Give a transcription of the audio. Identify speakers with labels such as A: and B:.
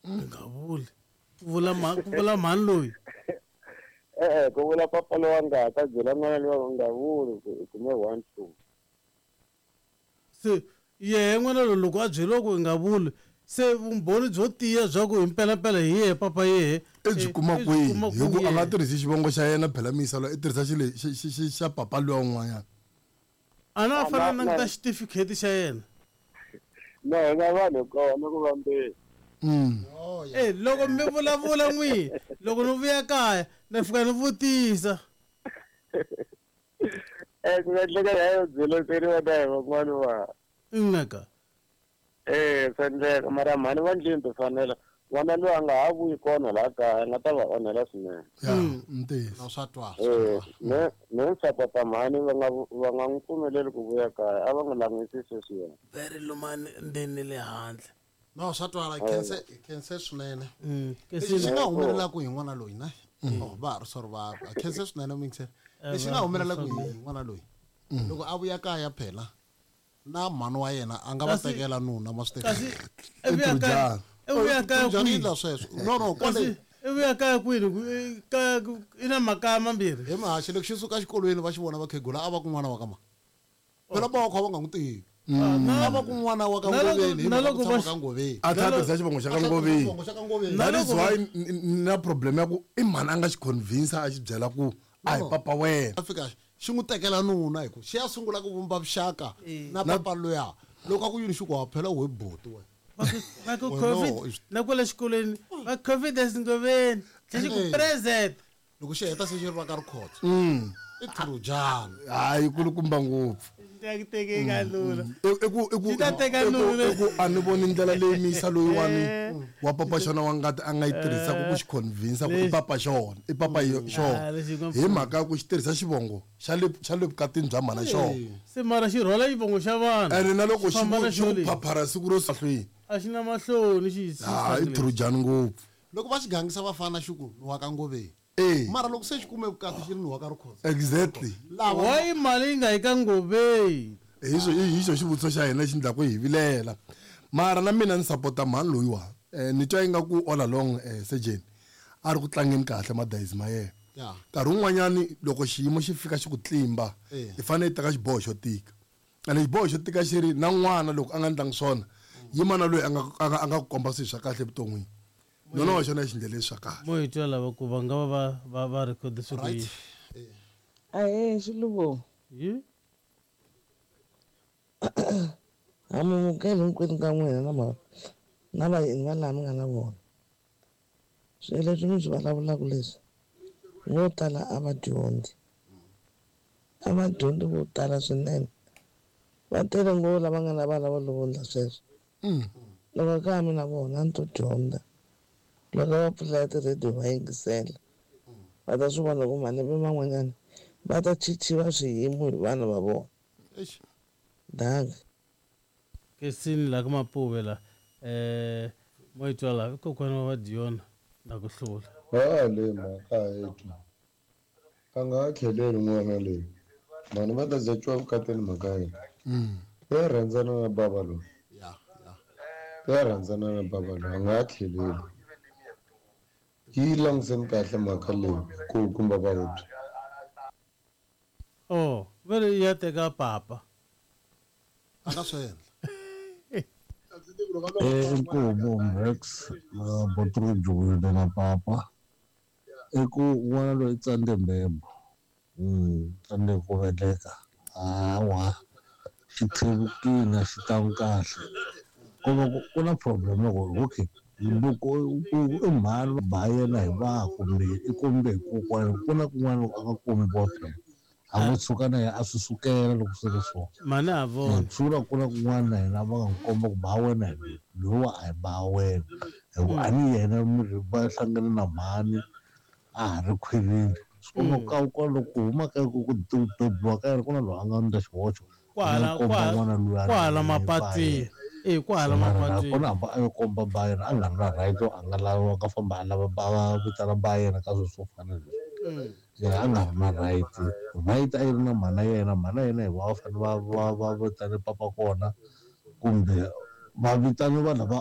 A: Ni nga vuli. Ku vula ku vula mhani loyi.
B: E-e, ku vula papa lowa ngati a byela n'wana lowa u nga vuli ku i kume 1 2.
A: Se yehe n'wana loyi loko a byeriwa ku i nga vuli, se vumbhoni byo tiya bya ku hi mpelampela hi yehe papa yehe
C: i byi kuma kwihi? Hi ku a nga tirhisi xivongo xa yena phela miyisa loyi i tirhisa xi xi xi xi xa papa luya un'wanyana.
A: A na a fanele a languta xitifikheti xa yena.
B: Na hina vanhu kona ku vambeni.
A: E loko mi vulavula n'wi loko ni vuya kaya na fika ni vutisa.
B: Eh ku nga endleka ya yo byeleteriwa na hi van'wana va.
A: Nneka.
B: Eh swa endleka mara mhani va ndlwini tifanela n'wana loyi a nga ha vuyi kona laha kaya a nga ta va onhela swinene.
C: Ya, ntiyiso.
D: No swa twala.
B: Eh me me ni sapota mhani va nga va nga n'wi pfumeleli ku vuya kaya a va n'wi langusi sweswiya.
A: Very lumani ndzeni ni le handle.
D: No swa twala hi khense hi khense swinene. Lexi xi nga humelelaku hi n'wana loyi ne oh va ha ri sorry va ha khense swinene muyingiseri. Lexi nga humelelaku hi n'wana loyi loko a vuya kaya phela na mhani wa yena a nga va tekela nuna ma swi
A: Kasi i vuya kaya i vuya kaya
D: kwihi
A: kwihi?
D: endla sweswo no no kwale
A: Kasi i vuya kaya kwini kaya i na makaya mambirhi.
D: He mahaxi loko xi suka exikolweni va xi vona vakhegula a va ku n'wana wa ka mani. Phela ba wakho a va nga n'wi tivi. A va ku n'wana wa ka Ngoveni hi mhaka ku tshama ka Ngoveni.
C: A tlhela a tirhisa xivongo xa ka Ngoveni.
D: Xivongo xa ka Ngoveni.
C: That is why ni na problem ya ku i mhani a nga xi convince a xi byela ku a hi papa wena.
D: A fika xi n'wi tekela nuna hi ku xi ya sungula ku vumba vuxaka na papa luya. Loko a ku yini xi ku ha phela we buti wena.
A: Va ku COVID na kwale xikolweni va Confidence Ngoveni xi ku present.
D: Loko xi heta se xi ri va ka Rikhotso. I Trojana.
C: Hayi kulukumba ngopfu.
A: Ya ku teke ka nuna.
C: I ku i ku
A: Xi ta teka nuna.
C: I ku a ni voni ndlela leyi miyisa loyiwani wa papa xona wa ngati a nga yi tirhisaka ku xi convince ku i papa xona, i papa xona. Hi mhaka ya ku xi tirhisa xivongo xa le xa le vukatini bya mhana xona.
A: Se mara xi rhwala xivongo xa vanhu.
C: Ene na loko xi
A: Famba
C: ku
A: na
C: xi ku
A: xo lexi.
C: phaphara siku ro mahlweni.
A: A xi na mahloni xi
C: Ha i Trojana ngopfu.
D: Loko va xi gangisa vafana xi ku ni wa ka Ngoveni.
C: Eh.
D: Mara loko se xi kume vukati xi ri ni wa ka Rikhotso.
C: Exactly.
D: Lava
A: Why mali yi nga yi ka Ngoveni?
C: Hi xo hi xo xivutiso xa hina xi ndlaku hi vilela. Mara na mina ni sapota mhani loyiwa. Eh, ni twa ingaku all along eh, surgeon a ri ku tlangeni kahle madayizi ma yena.
D: Yeah.
C: Nkarhi wun'wanyani loko xiyimo xi fika xi ku tlimba,
D: Eh.
C: i fanele i teka xiboho xo tika. Ene xiboho xo tika xi ri na n'wana loko a nga ndlangi swona, yima na loyi a nga a nga a nga ku komba swilo swa kahle evuton'wini. Nona wa xona xindlela swa kahle.
A: Mo hi twa lava ku va nga va va va va record swi ku yini.
E: Ahee Xiluvo.
A: Yi.
E: Ha mi mukeli hinkwenu ka n'wina na ma na vayeni va laha mi nga na vona. Swilo leswi mi swi vulavulaka leswi vo tala a va dyondzi. A va dyondzi vo tala swinene. Va tele ngopfu lava nga na vana va lovondla sweswo. Loko ka ha mi na vona a ni to dyondza. Loko va pfula ti-radio va yingisela va ta swi vona ku malembe man'wanyana va ta chichiwa swiyimo hi vana va vona. Dankie.
A: Kesini la ka Mapuve la eh mo yi twa la i kokwana wa va Diona na ku hlula.
F: Ha le mhaka a yi twa. A nga ha tlheleli n'wana loyi. Mhani va ta za twa vukatini mhaka ya yena. Ya rhandzana na bava loyi. Ya rhandzana na bava loyi a nga ha tlheleli. Yi languseni kahle mhaka leyi kulukumba va hobye.
A: Oh, va ri ya teka papa.
D: A nga swi endla.
G: Inkomu Max na Botro na papa i ku n'wana loyi i tsandze mbembo tsandze ku veleka hawa xi tlhevukile a xi tlangi kahle ko va ku ku na problem loko okay loko i mhani ba yena hi va kumbe i kombe hi kokwana ku na kun'wana loko a nga kombiwa phela a ngo tshuka na yena a swi sukela loko swi ri so
A: Mhani ha vona.
G: Swi vula ku na kun'wana na yena va nga n'wi komba ku ba wena hi loyi lowa a hi ba wena hi ku a ni yena mi va hlangane na mhani a ha ri khwirini swi komba ku ka loko ku huma ka ku bebiwa ka yena ku na loyi a nga endla xihoxo
A: Kwahala
G: komba n'wana luya
A: kwahala mapatwini. Eh kwahala mapatwini.
G: kona hamba a yo komba ba yena a nga ri na right a nga lava ka famba a lava ba va vitana ba yena ka swilo swo fana na leswi yena a nga ri na right right a yi ri na mhana yena mhana yena hi va va fanele va va va vitane papa kona kumbe va vitane vanhu lava